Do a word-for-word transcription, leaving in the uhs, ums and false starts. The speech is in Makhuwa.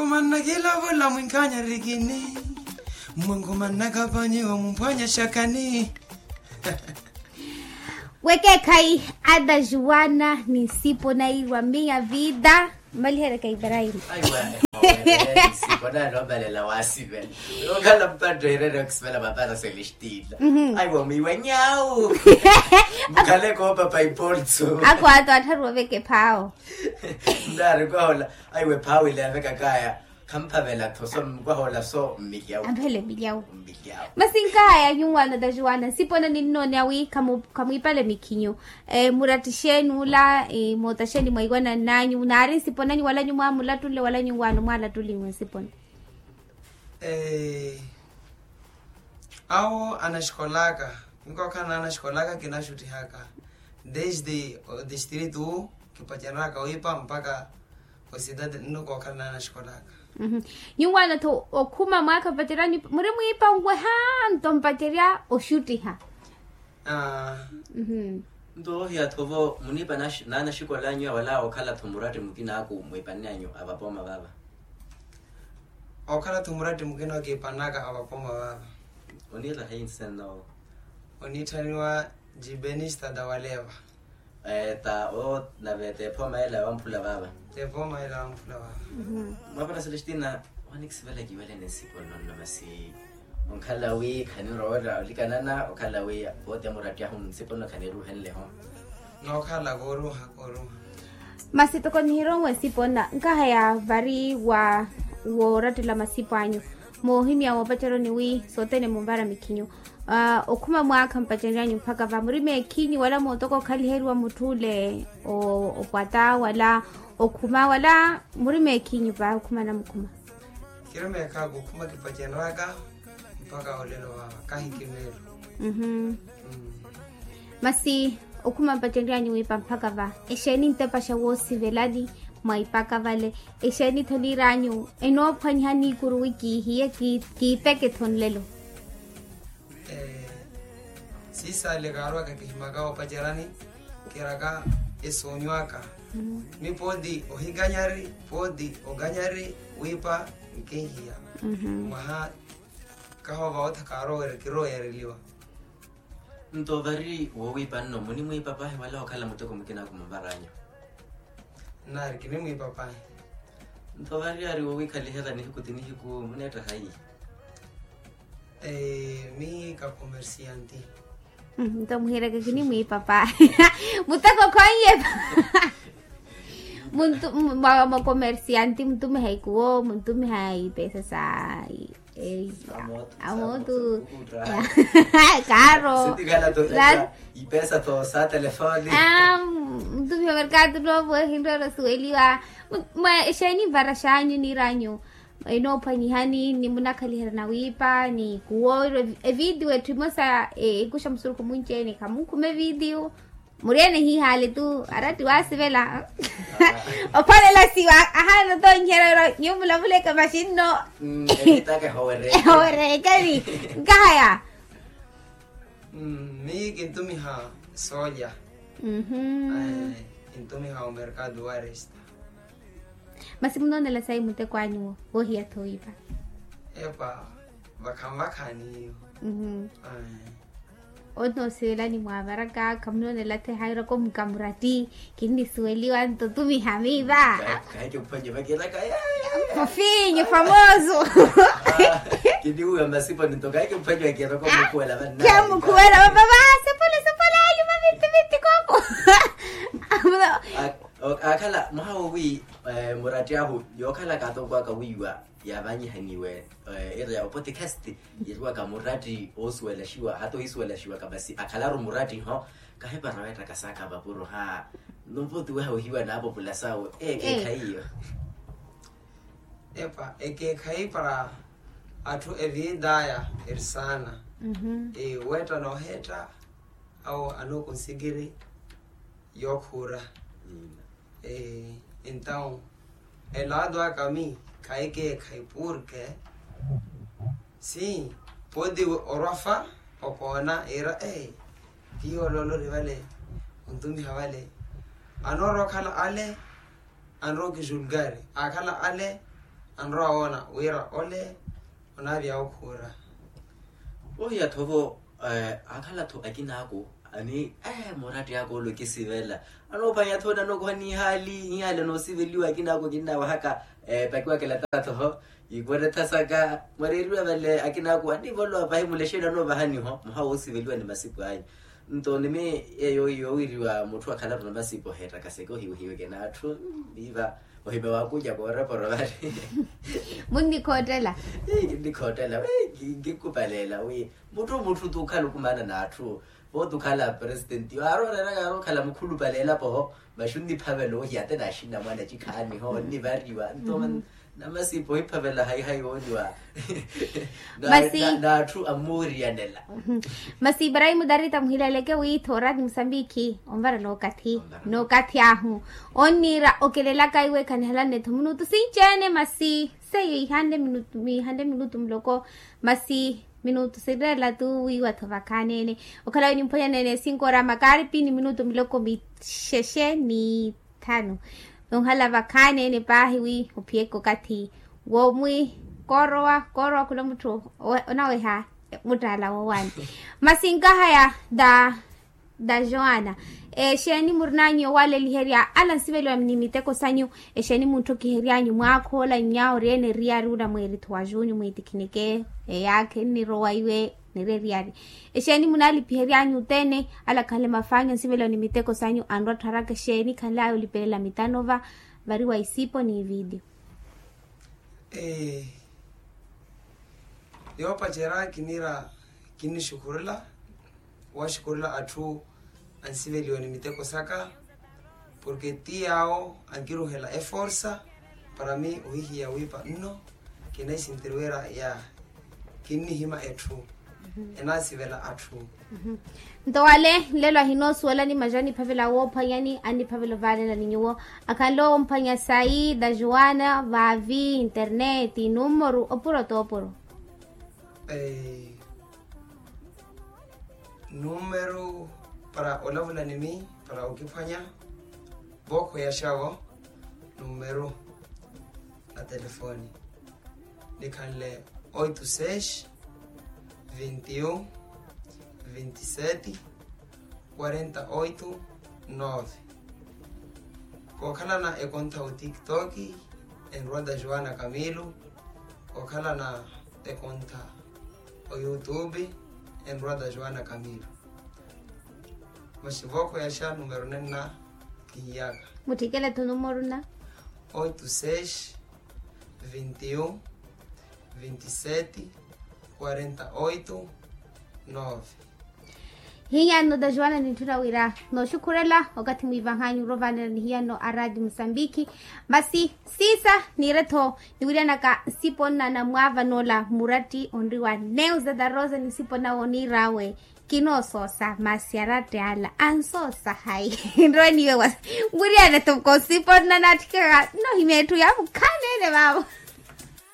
Mannakila vula mwinkanya rikini. Mwangu mannaka panyiwa mumphwanya shakani. Wekekhayi ada juwana ni nsipo nairwa miya vida. Mmalihereka ibrahim. Aiwa. Nsipo nanomalela wasivela. Okhala mpatto irene okusivela mapara celestina. Aiwa mwiwa nyawu. Mukhale koopapa ipoltso. Ako ato attharu oveke phawo. Nari kwahola. Aiwe phawo ile yavekakaya. Khamphavela tho so mukwahola so mmilyawu. Amphele mmilyawu. Mmilyawu. Masi nkaya nyuwana tajuwana nsipona ninnoone awi khamwipale mikhinyu. Muratti exeeni ula? Moota exeeni mwaiwana nnanyu naari nsiponanyu wala nyumwa mulattunle wala nyuwana mwalattuliwe nsipona? Awo anaxikolaka. Nkookhala naanaxikolaka kinaxuttihaka desde o distrito kipaceraka wiipa mpaka osidade nno kookhala naanaxikolaka. Nyuwaana-tho okhuma mwaakha mpacerya muri mwiipa nweha nto mpacerya oxuttiha. Nto ohiya-tho-vo muniipa naanaxikolanyu wala okhala-tho muratti mukina aku mwiipanne anyu avapooma vava? Okhala-tho muratti mukina okiipannaka avapooma vava. Oniira hayi nsenna owo? Oniitthaniwa jibenista tawaleva. Ta o nave t'ephoma ela yawamphula vaava. T'ephoma ela yawamphula vaava. Mwapara celestina, onikisivela kiwelene nsipo nnonno masi onkhala wi khanirowa olikanana okhala wi poote muratti ahu nsipo nno khaniruhenleho. Nookhala kooruha kooruha. Masi toko nihironwe nsipo nna nkahaya vari wa woorattela masipo anyu moohimya woopaceroni wi sothene munvara mikhinyu. Okhuma mwaakha mpaceryanyu mpakha va muri meekhinyu wala mootoka okhaliheriwa mutth'ule opwata wala okhuma wala muri meekhinyu va okhuma namukhuma? Kiri meekhaku okhuma kipaceraka mpakha olelo vava kahi kimeelo. Masi okhuma mpaceryanyu wiipa mpakha va exeeni ntepaxa woosivelani mwa ipaka vale? Exeeni-tho niir'anyu enoophwanyiha niikuru wi kiihiye kiipeke-tho nlelo? Siisale kaarwaka kihimaka opacerani kiraka esoonywaka. Mi pooti ohikanyari pooti okanyari wiipa nkinhiya mwaha kahoova ottha kaarowa kirowereliwa. Nto vari wowiipa nno munimwiipa pahi wala okhala muteko mukina kumunvar'anyu? Nari kinimwiipa pahi. Nto vari ari wowiikhaliherya nihiku ti nihiku muneetta hayi? Mi ka komersiyanti. Nto muhireke kinimwiipa pahi. Muteko khonyepa. Muntu mwa komersiyanti muntumiha ikuwo muntumiha ipeesa sa amootu. Kaaro. Ipeesa tho sa telefoni. Muntumiha merkatu novo ehinroero suweliwa. Mwa exeeni nvara xanyu niir'anyu enoophwanyihani ni munakhaliherya nawiipa ni kuwoorwa evidiyo etthu emosa ekuxa musurukhu munci-ene khamunkhuma evidiyo. Muri-ene hiihaale tu aratti waasivela. Ophwalela siwa ahaana otonyiherya oro nyuwo mulavuleke maxi nno. Ehowereekani. Nkahaya. Miyi kintumiha soolya. Kintumiha omerkado waresta. Masi munoonela sayi muteko anyu woohiya-tho wiipa? Epa vakhanvakhani iyo. Onoosivelani mwavaraka khamunoonela-tho ehairaka omuka muratti. Kinnisuweliwa nto tumiha miiva. Fofinho famoso. Kiniwiwa masipo ninto kaike mphwanya wakira komukhuwela vanna. Kya mukhuwela vavava sepole sepole ayo mavitti vitti koko. Akhala mwaha wowi muratti ahu yookhala kaatoko aka wiiwa yaavanyihaniwe ira ya opodcast. Yeriwaka muratti oosuwelaxiwa hata ohisuwelaxiwaka masi akhalaru muratti ho. Kahepara weettaka saaka vapuro ha. Nuvutiweha ohiwa naapopula sawe ekeekhayi iyo. Epa ekeekhayi para atthu eviidaya eri saana. Weetta nooheetta awo anookonsikiri yookhuura. Entaw elaado aka mi khayi keekhayi purke si poti orwafa okoona iira ee tiyo ololori vale ontumiha vale anoorowa okhala ale anrowa okijulgari akhala ale Anrowa woona wira ole onaavya okhuura. Ohiya-tho vo akhala-tho akinaaku ani muratti aka ole okisivela. Anoophwanya-tho nanokoha nihaali nihaali anoosiveliwa akinaaku kinnawahaka. Pakiwakela taatho-ho. Iweretha saka mwareeriwa vale akinaaku anivolowa pahi mulexeni anoovahani-ho muha woosiveliwa ni masipu anyu. Nto nimi eyo yowiriwa mutthu akhala-tho na masipu oheettaka seke ohiwehiweke n'atthu. Viiva. Ohimya waakuuca kooroporo vari. Munnikhoottela. Kinnikhoottela wi. Kinkupaleela wi mutthu mutthu t'ukhala okumaana n'atthu. Vo t'ukhala presitenti aari oreeraka aari okhala mukhulupale elapo-ho. Maxi onniphavela ohiya ate n'axinamwane acikhaani-ho onnivariwa nto. Namasipa ohiphavela hayihayi wooniwa. Masi n'atthu amuuriyanela. Masi ibrahimu darita muhilaleke wi thoorati musambikhi onvarela okathi n'okathi ahu onniira okelelaka iwe khanihalanne-tho minutu sinci-ene masi seiyo ihanle minutu muloko. Masi minutu sireela tu wiiwa-tho vakhaani-ene okhala wi nimphwanyanene sinkoora makaaripi ni minutu miloko mixexe ni thanu. Onhala vakhaani-ene paahi wi ophiyeke okathi womwi koorowa koorowa khula mutthu onaweha muttaala woowani. Masi nkahaya da da joana exeeni murinanyu owaleliherya ala nsiveliwa ni miteko sanyu? Exeeni munttokihery'anyu mwaakha ola nyaawo ori ene eriyari ula mweeri-tho wa junyu mwiitikhinike eyaakha ennirowa iwe niri eriyari. Exeeni munaalipihery'anyu othene ala khanle mafaanyu ansiveliwa ni miteko sanyu anrwa atthu araka exeeni khanlaya olipelela mitanova vari wa isipo ni video. Yoopacerya kiniira kinnixukhurela waxukhurela atthu ansiveliwa ni miteko saka. Porke ti yaawo ankiruhela eforsa para mi ohihiya wiipa nno. Kinaisinteriwera ya kinnihima etthu enaasivela atthu. Nto wale nlelo ahinoosuwelani maja aniphavela woophwanyani aniphavela ovaalelani nyuwo akhanle omphwanya sayi da joana vaavi interneti numeru opuro t'opuro. Numeru para olavula ni mi para okiphwanya. Vookho ya xawo numeru na telefoni nikhanle oito seis vinte e um vinte e sete quarenta oito nove. Kookhalana ekontha otiktok enrwanda joana camilo. Kookhalana ekontha oyoutube enrwanda joana camilo. Masi vookho ya xa numero nenna kihiyaka. Mutthikele-tho numero na oito seis vinte e um vinte e sete quarenta oito nove. Hiyano da joana nintthuna wira nooxukhurela okathi mwiivahanyu orovaanela ni hiyano a radio musambikhi. Masi siisa niire-tho niwiryanaka nsipo nna na mwaava n'ola muratti onriwa neu zeta rosa ni nsipo nawe oniir'awe. Kinoosoosa masi aratti ala ansoosa hayi nrowe niiwe wasi. Mwiriyane-tho kosipo nna naatthikaka nnohimya etthu ya mukhaani ene vaavo.